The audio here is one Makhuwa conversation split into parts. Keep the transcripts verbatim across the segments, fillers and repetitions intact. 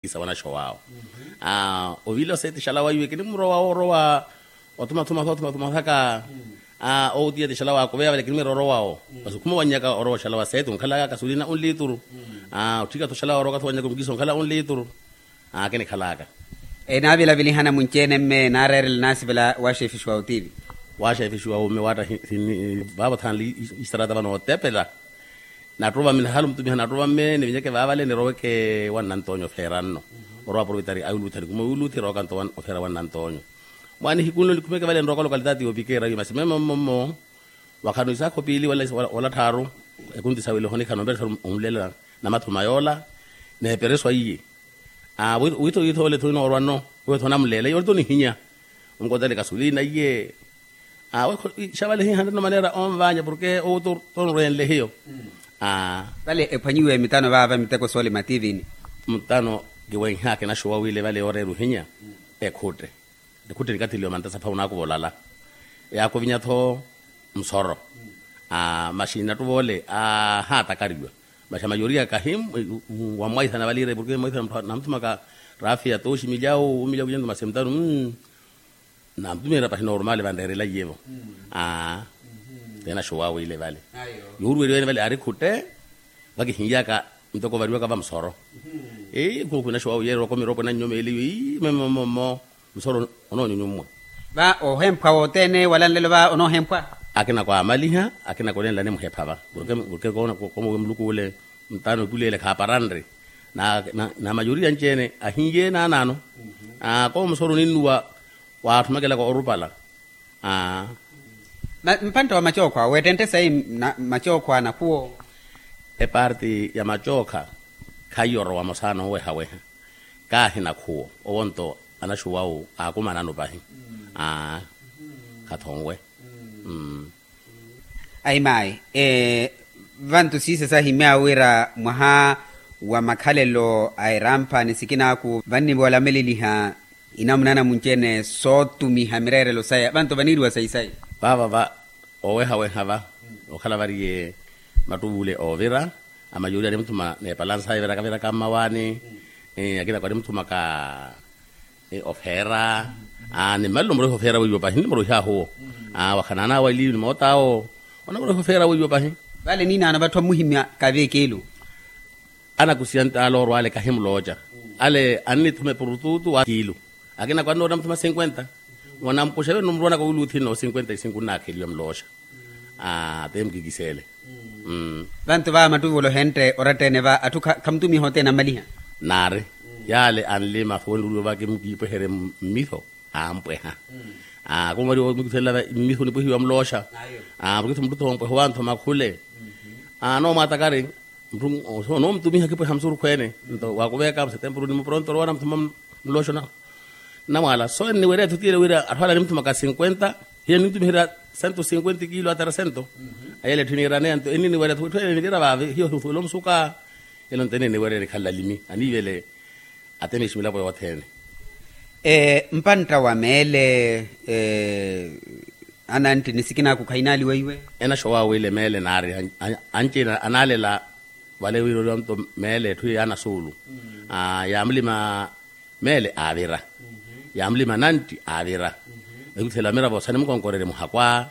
Sa wanaxowawo. Ovila oseeti xalawa iwe kinimurowa orowa. Otumathuma tho otumathuma thaka. Outiya ti xalawa akuveya vale kinimwira orowawo. Masi khumowanyaka orowa oxalawa seeti onkhalaka kasulina onlituru. Otthika tho xalawa oroka tho wanyaka onkiso onkhala onlituru. Kinikhalaka. Enaavilavilihana munci-ene mme naareerela naasivela waxeefixiwa otiivi. Waxeefixiwa mme waatta. Vaavo thanle istarata vano otepela. Nattuva mme nahali omutumiha nattuva mme nivinyeke vaavale niroweke wa nnantonya ofeera nno. Orowa aprovetari a yuluthi nikuma yuluthi rokanto ofeera wa nnantonya. Mwaana ihiku nlo nikhumeke vale nroka lokalitati yoopikera iyo masi meme mmommo. Wakhano isaakho piili wala tthaaru. Ekunti sawile ohonikhana omperesari onlela namathuma yoola. Neepereswa iye. Witho witho ole tho inoorwa nno. Witho namulela iyo ole tho nihinya. Onkotele kasulina iye. Awe xavale hihanre nno maneera onvanya porke owo tonrwenle hiyo. Vale ephwanyiwe mitano vaava miteko soole mativini. Mutano kiwenhya kinaxuwa wile vale yooreera ohinya. Ekhutte ekhutte nikathiliwa mantasa pha onaakuva olala. Yaakuvinya-tho musoro. Maxi nattuva ole ahatakariwa. Maxi amayoriya kahi wamwaithana vale ire porke mwaithana muthu namuthumaka rafiya tooxi milyawu omilyawu kunyento masi mutano. Namtumiherya pahi normal vanreerela iyevo. Aa. Tenaxuwawe ile vale. Yoruweliwene vale ari khutte. Vakihinlyaka ntoko variwaka vamusoro. Eyi khukhwinaxuwawe yeerowaka omiropo nannyomeliwe ii meme momo musoro onoonyunyummwa. Va ohemphwa wothene wala nlelo va onohemphwa. Akina kwamaliha akina konenla nimuhepha va. Komowe muluku ule. Ntano epulele khaaparanre. Na mayoriya anci-ene ahinye naanaano. Komusoro ninnuwa. Waatthumekelaka orupala. Mpantta wa macookho awo wettentte sayi macookho a nakhuwo. Eparti ya macookha khaiyo orowa mosa noowehaweha. Kaahi nakhuwo owo nto anaxuwawu aakumanano pahi. Khathonwe. Ayi maayi. Vantu siisa sahimyaawe wira mwaha wa makhalelo a erampha ni sikinaaku vannivoolameleliha inamuna namunci-ene sootumiha mireerelo saya vantu vaniiriwa sayi sayi. Vaava va owehaweha va okhala variye mattuvule oovira. Amayoriya animuthuma n'epalansa evirakaviraka mmawaani. Akina kwanimuthumaka ofeera. Nimmalelo muroiha ofeera weiwo pahi nimmuroihaahu owo. Wakhananaawa eliyo nimootaawo onamoroiha ofeera weiwo pahi. Vale ninaano vatthu ammuhimya kavi ekiilu. Anakusiya ntaala orwa ale kahimulooca. Ale annithuma epurututu wa kiilu. Akina kwannoona muthuma cinquenta. Wanampuxa vene nomurwanaka wiiluthi nno cinquenta e cinco nnaakheliwa mulooxa. Aaa te mukikisele. Vantu va mattuvula ohentte oratta-ene va atthu khamutumiha othene ammaliha. Naari. Yaale anlima fowene uriwo vake mukiipweherye mmitho. Aampweha. Aaa kumwariwa mukithelela mmitho nipwehiwa mulooxa. Aaa mukitho muttutho ompweha owanthoma khule. Aaa noomwatakari. Mutthu onoomutumiha khipweha musurukhweene. Nto waakuveyaka musetempuru ni muporonto orowa namuthuma mulooxa. Nnamwaala so enniwerya etthu tiile wira atthu ale animuthumaka cinquenta. Hiyo nintumiherya cento cinquenta ekiilo atera cento. Ayele etthu eniiraneya nto enniniwerya etthu etthu ene nivira vaavi hiyo hifuwela omusuka. Elo nto enniniwerya enikhalela alimi aniivele. Atemexi milapo yothene. Mpantta wa meele. Anantti ni sikinaaku khainaaliwa iwe. Enaxowawe ile meele naari anci-ene anaalela. Vale wira oriwa nto meele etthu yaanasuulu. Yaamulima meele aavira. Yaamulima nantti aavira. Ekhuthela miravo sanimukonkorerye muhakwa.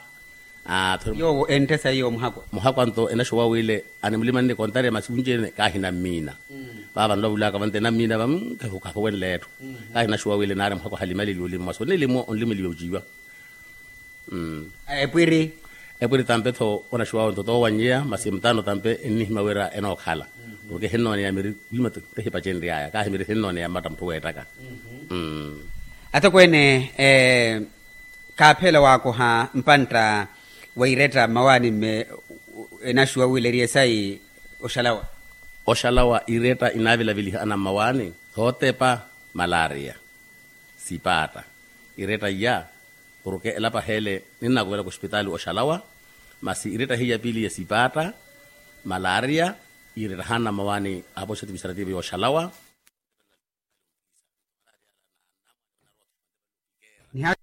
Yoowo enttesa iyo muhakwa. Muhakwa nto enaxuwa wile animulima nnikontarya masi wunci-ene kaahina mmiina. Vaava nlwavulaka vante nammiina va. Khahuwenle etthu. Kaahina xuwa wile naari muhakwa halimaleliwe olima masi onilima onlimeliwe ociwa. Epwiri. Epwiri tampe-tho onaxuwawe nto toowannyeya masi mutano tampe ennihimya wira enookhala. Porke hinnooneya miri wiima tehipacenry'aya kaahi miri hinnooneya mmatta mutthu weettaka. Atokweene. Kaaphela waakoha mpantta wa iretta mmawaani mme enaxuwa wile eri esayi. Oxalawa. Oxalawa iretta inaavilaviliha ana mmawaani thootepa. Malaria. Sipaatta. Iretta iya porke elapa heele ninnaakuvelaka oxipitaali oxalawa. Masi iretta hiya piili ya sipaatta. Malaria. Iretta haana mmawaani apoxeti misarativo yooxalawa. Niha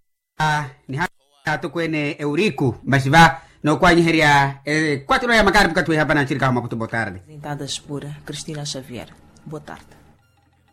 niha atokweene euriku masi va nookwanyiherya. Kwatiro ya makari mukatthi wehapana nchirikaho maputu botarde. Presentadas por cristina xavier. Botarde.